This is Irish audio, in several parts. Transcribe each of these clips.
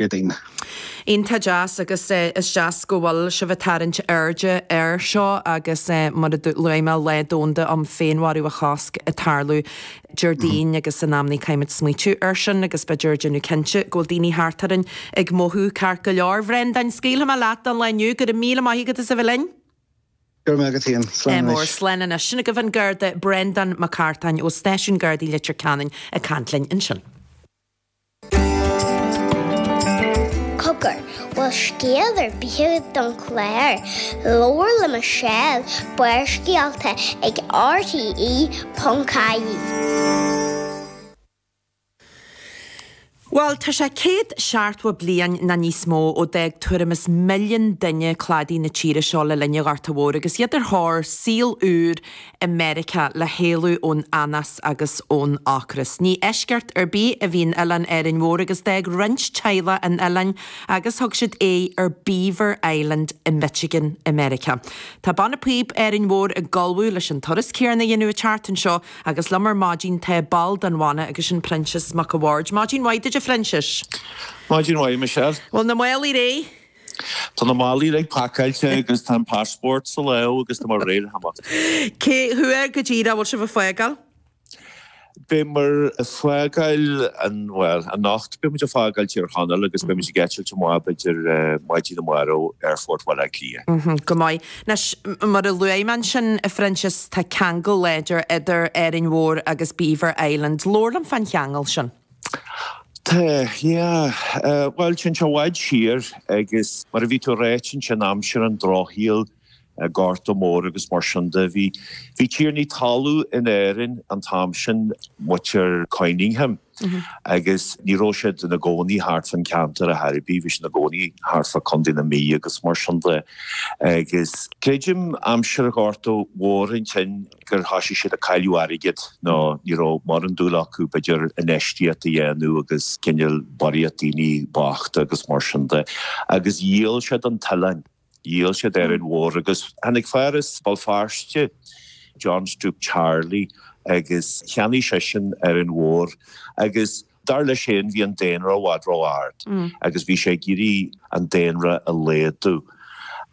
Déardaoin. Iontach deas agus is deas go bhfuil sibh ag tarraingt airde air seo agus mar a luaigh mé Lá Domhanda um Féinmharú a Chosc ag tarlú Déardaoin agus in amannaí caithfimid smaoitiú air sin agus b'fhéidir déanamh cinnte go bhfuil daoine thart orainn ag mothú ceart go leor. Bhreandáin, scaoilfidh mé leat don lá inniu. Go raibh míle maith agat as a bheith linn. Go raibh maith agat féin. Slán anois. Slán anois. Sin agaibh an Garda Breandán Mac Cartáin ó Stáisiún Gardaí Leitir Ceanainn ag caint linn ansin. Cogar, bhfuil scéal ar bith agat don chlár? Labhair le Michelle, Barrscéalta ag RTE.ie. Bhuel, tá sé 170 bliain nó níos mó ó d'fhág tuairim is milliún duine cladaí na tíre seo le linn an Ghorta Mhóir agus iad ar thóir saol úr i Meiriceá le héalú ón anás agus ón ocras. Ní eisceacht ar bith a bhí in oileán Árainn Mhór agus d'fhág roinnt teaghlach an oileáin agus thug siad aghaidh ar Beaver Island i Michigan i Meiriceá. Tá Banna Píob Árainn Mhór ag ullmhú leis an turas céanna a dhéanamh an tseachtain seo agus liom ar maidin tá ball den bhanna agus sin Proinsias Mac a' Bhaird. Maidin mhaith duit a Phroinsiais. Maidin mhaith, Michelle. Bhfuil na málaí réidh? Tá na málaí uilig pacáilte agus tá an passport sa lámh agus tá muid réidh le himeacht. Cé huair go díreach a bhfuil sibh ag fágáil? Beidh muid ag fágáil an, bhuel, anocht beidh muid ag fágáil Tír Chonaill agus beidh muid ag eitilt amach b'fhéidir maidin amárach Aerfort Bhaile Átha Cliath. Go maith. Anois, mar a luaigh mé ansin, a Phroinsias, tá ceangal láidir idir Árainn Mhór agus Beaver Island. Labhair liom fán cheangal sin. Tá, yeah. Bhuel, téann sé i bhfad siar agus mar a bhí tú ag ráit ansin, aimsir an drochshaoil, Gorta Mór agus mar sin de, bhí, bhí tiarnaí talún in Éirinn an t-am sin, muintir Coyningham, agus ní raibh siad ina gcónaí thart fán ceantar ar chor ar bith, bhí siad ina gcónaí thart fá Contae na Mí agus mar sin de. Agus creidim aimsir an Ghorta Mhóir ansin, gur thoisigh siad ag cailleadh airgead nó ní raibh mórán dúil acu b'fhéidir infheistíocht a dhéanamh agus cineál barraíocht daoine bochta agus mar sin de agus dhíol siad an t-oileán, dhíol siad Árainn Mhór agus tháinig fear as Béal Feirste, John Stroop Charley agus cheannaigh seisean Árainn Mhór agus dar leis féin bhí an daonra i bhfad ró-ard agus bhí sé ag iarraidh an daonra a laghdú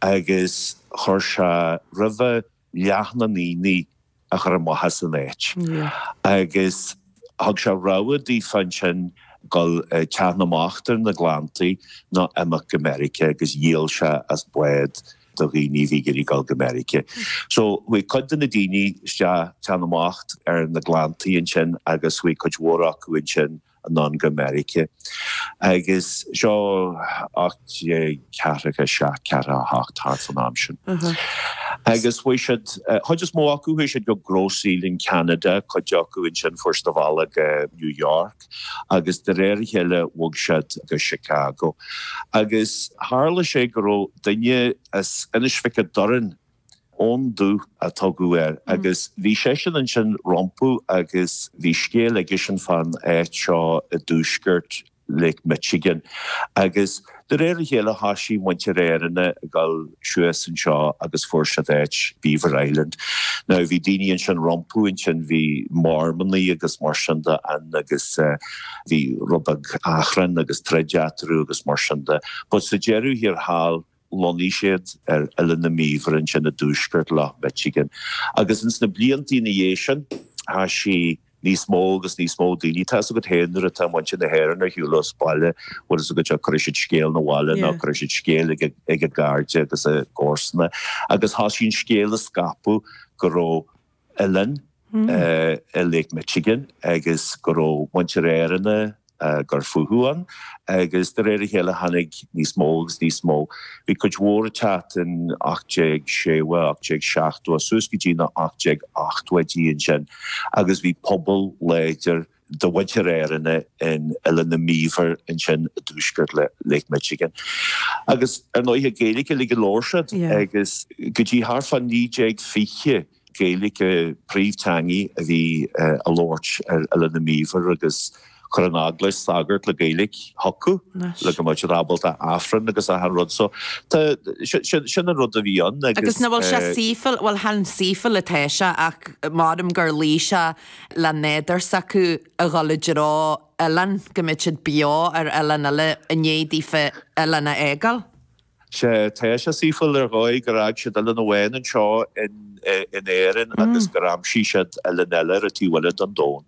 agus chuir sé roimhe leath na ndaoine a chur amach as an áit. Agus thug sé rogha daofa ansin dul Teach na mBocht ar na Gleanntaí nó imeacht go Meiriceá agus dhíol sé as bád do dhaoine a bhí ag iarraidh dul go Meiriceá. So chuaigh cuid de na daoine isteach Teach na mBocht ar na Gleanntaí ansin agus chuaigh cuid mhór acu ansin anonn go Meiriceá. Agus seo 1847, 48, thart fán am sin. Agus chuaigh siad, chuid is mó acu, chuaigh siad go Grosse Ile in Ceanada, cuid acu ansin fuair siad a bhealach go New York agus de réir a chéile bhog siad go Chicago. Agus tharla sé go raibh duine as Inis Mhic an Doirn, Eoin Dubh a tugadh air agus bhí seisean ansin rompu agus bhí scéal aigesean fán áit seo i dtuaisceart Lake Michigan agus de réir a chéile thoisigh muintir Éireann ag dul suas anseo agus fuair siad áit Beaver Island. Now bhí daoine ansin rompu ansin, bhí Mormannaigh agus mar sin de ann agus bhí rud beag achrann agus troid eatarthu agus mar sin de but sa deireadh thiar thall Lonnaigh siad ar Oileán na mBeaver ansin i dtuaisceart Loch Michigan. Agus ins na bliantaí ina dhiaidh sin, thoisigh níos mó agus níos mó daoine, tá fhios agat féin nuair atá muintir na hÉireann ar shiúl as baile, bhfuil fhios agat, cuirfidh siad scéal 'na bhaile nó cuirfidh siad scéal ag a gcairde agus a gcomharsana. Agus thoisigh an scéal a scaipeadh go raibh oileán i Lake Michigan agus go raibh muintir Éireann ag cur fúthu ann agus de réir a chéile tháinig níos mó agus níos mó. Bhí cuid mhór ag teacht in 1860, 1870, suas go dtí na 1880idí ansin agus bhí pobal láidir de mhuintir Éireann in Oileán na mBeaver ansin i dtuaisceart Lake Michigan. Agus ar ndóighe Gaeilge uilig a labhair siad agus go dtí thart fá 1920, Gaeilge príomhteangaidh a bhí á labhairt ar Oileán na mBeaver agus. Chuir an eaglais sagart le Gaeilge chucu le go mbeadh siad ábalta Aifreann agus achan rud. So tá, sin an rud a bhí ann agus. Agus nach bhfuil sé saoithiúil, bhuel chan saoithiúil atá sé ach maram gur luigh sé le nádúr s'acu a dhul i dtreo oileán, go mbeadh siad beo ar oileán eile i ndiaidh daofa oileán a fhágáil. Sea, tá sé saoithiúil ar dhóigh gur fhág siad oileán amháin anseo in Éirinn agus gur aimsigh siad oileán eile ar an taobh eile den domhan.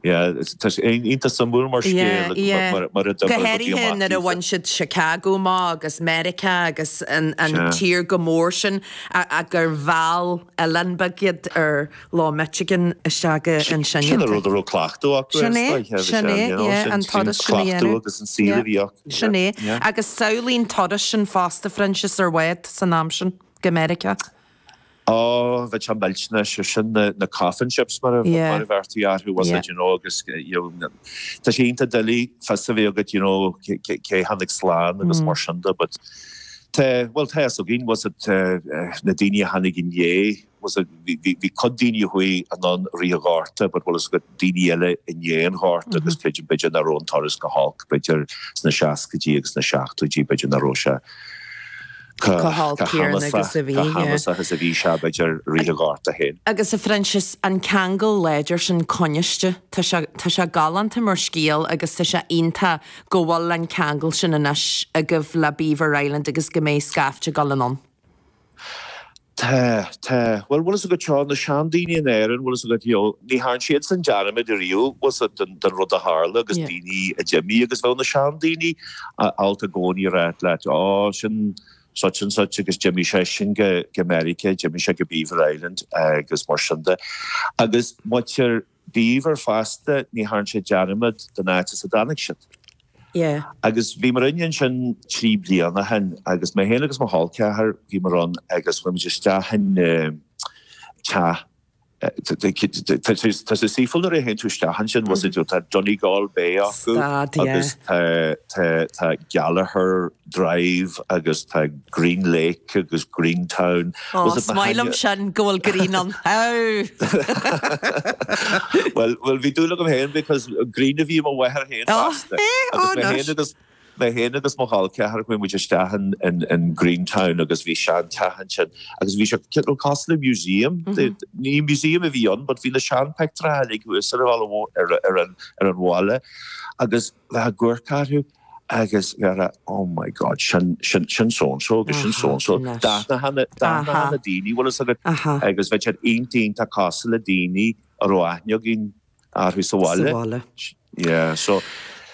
Yeah, tá sé iontach suimiúil mar scéal Yeah, yeah. mar a Go d'oibrigh rudaí háirithe amach nuair a daofa. bhain siad Chicago amach agus Meiriceá agus an tír chomh mór sin ach gur mheall oileán beag iad ar Loch Michigan isteach go ansin. Sin an rud a raibh cleachtadh acu Sin é, sin é, yeah, an turas sin a dhéanamh. agus an saol a bhí acu. Sin é. Agus samhlaigh an turas sin fosta, Proinsias, ar bhád san am sin go Meiriceá. Ó, bheadh sé millteanach, sé sin na coffin ships mar a bheirtí orthu, was it, you know, agus you know, tá sé iontach doiligh fios a bheith agat, you know, cé tháinig slán agus mar sin de, but tá, bhuel, tá fhios againn, was it, na daoine a tháinig i ndiaidh, was it, bhí cuid daoine a chuaigh anonn i rith an Ghorta but bhfuil fhios agat daoine eile i ndiaidh an Ghorta agus creidim b'fhéidir nach raibh an turas chomh holc b'fhéidir sna seascaidí agus sna seachtóidí b'fhéidir nach raibh sé chomh holc céanna agus a bhí, chomh hamasach is a bhí sé b'fhéidir i rith an Ghorta féin. Agus a Phroinsias, an ceangal láidir sin coinniste, tá sé, tá sé galánta mar scéal agus tá sé iontach go bhfuil an ceangal sin anois agaibh le Beaver Island agus go mbeidh scaifte ag dul anonn. Tá, tá. Bhuel, bhfuil fhios agat seo, na seandaoine in Éirinn, bhfuil fhios agat, you know, ní thearn siadsan dearmad ariamh, bhfuil fhios agat, den, den rud a tharla agus daoine a d'imigh agus bheadh na seandaoine ábalta i gcónaí a ráit leat, oh, sin such and such agus d'imigh seisean go, go Meiriceá, d'imigh sé go Beaver Island agus mar sin de. Agus muintir Beaver fosta, ní thearn siad dearmad den áit as a dtáinig siad. Yeah. Agus bhíomar inne ansin 3 bliana ó shin agus mé féin agus mo chol ceathar, bhíomar ann agus chuaigh muid isteach in teach, tá sé saoithiúil nuair a théann tú isteach ansin, bhfuil fhios agat, tá Donegal Bay acu agus tá tá Gallagher Drive agus tá Green Lake agus Greentown. Ó, is maith liom sin go bhfuil green ann. Bhuel, bhuel, bhí dúil agam féin because Green a bhí i mo mháthair féin fosta. Agus mé féin agus mé féin agus mo chol ceathar chuaigh muid isteach in, in, in Greentown agus bhí seanteach ansin agus bhí sé cineál cosúil le museum. Ní museum a bhí ann but bhí na seanphictiúirí uilig thuas ar an, ar, ar an, ar an bhalla agus bheifeá ag amharc orthu agus bheifeá ag rá oh my God sin, sin, sin so and so agus sin so and so. D'aithneofá na, d'aithneofá na daoine bhfuil fhios agat agus bheadh siad iontach iontach cosúil le daoine a raibh aithne againn orthu sa bhaile. Sa bhaile. Yeah, so.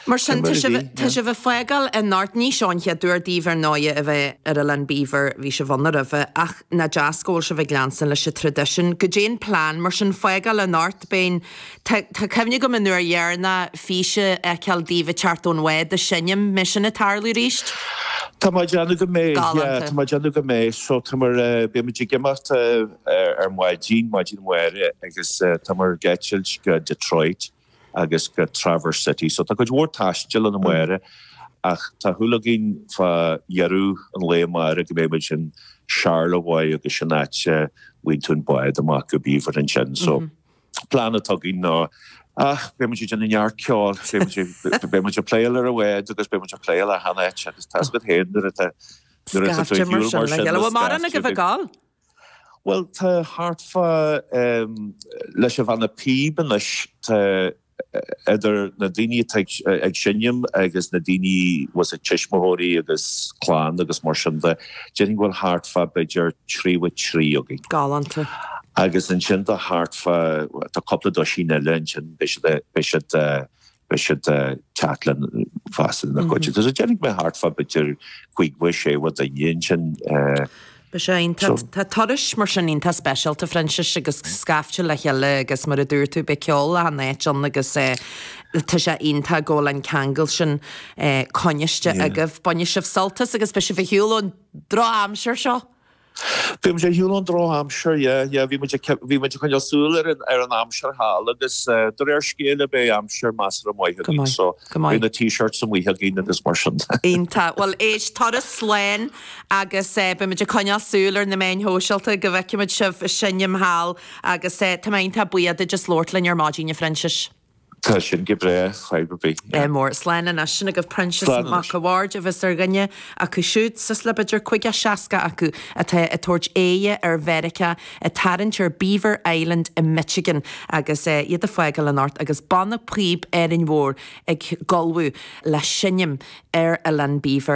Mar sin, tá sibh, tá sibh ag fágáil anocht, ní seo an chéad uair daoibh ar ndóighe a bheith ar Oileán Beaver, bhí sibh ann roimhe, ach nach deas go bhfuil sibh ag leanstan leis an traidisiún. Goidé an plean mar sin, fágáil anocht, beidh an, Tá cuimhne agam an uair dheireanach fís a fheiceáil daoibh ag teacht ón bhád ag seinm, mbeidh sin ag tarlú arís? Tá mé ag déanamh go mbeidh, yeah, tá mé ag déanamh go mbeidh. So tá muid, beidh muid ag imeacht ar maidin, maidin amárach agus tá muid ag eitilt go Detroit agus go Traverse City. So tá cuid mhór taistil ann amárach ach tá súil againn fá dheireadh an lae amárach go mbeidh muid in Charlevoix agus sin áit a bhfaigheann tú an bád amach go Beaver ansin. So. plean atá againn ná ach beidh muid ag déanamh neart ceoil, beidh muid ag, beidh muid ag playáil ar an bhád agus beidh muid ag playáil achan áit agus tá 'fhios agat féin nuair atá, nuair atá tú ar shiúl mar sin le Bhfuil mórán agaibh ag gabháil? Bhuel tá thart fá, leis an bhanna píob anois tá, idir na daoine atá ag seinm agus na daoine bhfuil 'fhios agat tuismitheoirí agus clann agus mar sin de, déarfainn go bhfuil thart fá b'fhéidir 33 againn. Galánta. Agus ansin tá thart fá, tá cúpla duisín eile ansin, beidh siad, beidh siad, beidh siad ag teacht linn fosta ina gcuid. So déarfainn go mbeidh thart fá b'fhéidir 50, 60 duine ansin. Beidh sé iontach. Tá turas mar sin iontach speisialta, a Phroinsias, agus scaifte le chéile agus mar a dúirt tú, beidh ceol achan áit ann agus tá sé iontach go bhfuil an ceangal sin coinniste agaibh. Bainfidh sibh sult as agus beidh sibh ar shiúl ón drochaimsir seo. Beidh muid ar shiúl ón drochaimsir, yeah, yeah. Bhí muid ag, bhí muid ag coinneáil súil ar an, ar an aimsir thall agus de réir scéil beidh aimsir measartha maith againn so beidh na t-shirts amuigh againn agus mar sin de. Iontach. Bhuel, éist, turas slán Agus beidh muid ag coinneáil súil ar na meáin shóisialta go bhfeicfidh muid sibh ag seinm thall agus tá mé iontach buíoch duit as labhairt linn ar maidin, a Phroinsiais. Tá sin go breá, fadhb ar bith. Ádh mór. Slán anois. Sin agaibh Proinsias Mac a' Bhaird a bheas ar dhuine acu siúd, suas le b'fhéidir 50, 60 acu atá ag tabhairt aghaidhe ar Mheiriceá, ag tarraingt ar Beaver Island i Michigan agus iad ag fágáil anocht agus Banna Píob Árainn Mhór ag ullmhú le seinm ar Oileán Beaver.